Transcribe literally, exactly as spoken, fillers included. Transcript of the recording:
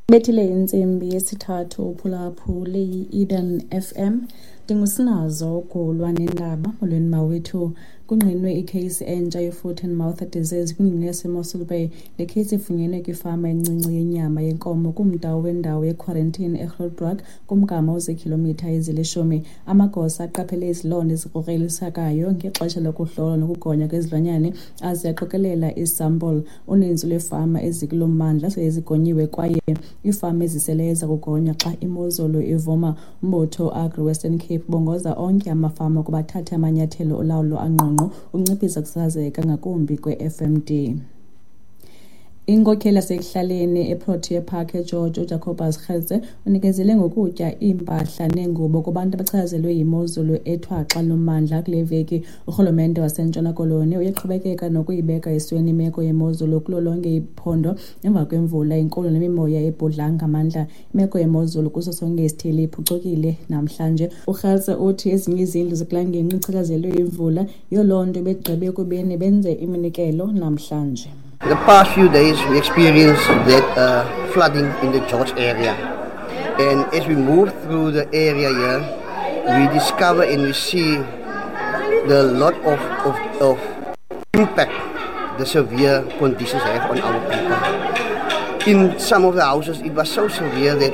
Bethile intsimbi yesithathu uphulaphule i-Eden F M. Ndingusinazo ugulwa nendaba. Molweni mawethu. Kungqinwe ikheyisi entsha ye-foot and mouth disease kwingingqi yaseMossel Bay. Le kheyisi ifunyenwe kwifama encinci yenyama yenkomo kumda wendawo yekhwarantini eGrootbrug kumgama oziikhilomitha ezilishumi. Amagosa aqaphele izilonda ezikrokrelekayo ngexesha lokuhlolwa nokugonywa kwezilwanyana aze aqokelela iisampulu. Uninzi lweefama ezikulo mmandla sele zigonyiwe kwaye iifama eziseleyo ziza kugonywa xa imozulu ivuma. Umbutho Agri Western Cape ubongoza onke amafama ukuba athathe amanyathelo olawulo angqongqo ukunciphisa ukusasazeka ngakumbi kwe-F M D. Inkokheli yasekuhlaleni eProtea Park eGeorge, uJacobus Gertze, unikezele ngokutya, iimpahla neengubo kubantu abachazelwe yimozulu ethwaxa lommandla kule veki. Urhulumente waseNtshona Koloni uyaqhubekeka nokuyibeka esweni imeko yemozulu kulo lonke iphondo emva kwemvula enkulu nemimoya ebhudla ngamandla. Imeko yemozulu kuso sonke isithili iphucukile namhlanje. UGertze uthi ezinye izindlu zekula ngingqi ichatshazelwe yimvula, yiyo loo nto begqibe ekubeni benze iminikelo namhlanje. The past few days we experienced that uh, flooding in the George area. And as we move through the area here, we discover and we see the lot of, of, of impact the severe conditions have on our people. In some of the houses, it was so severe that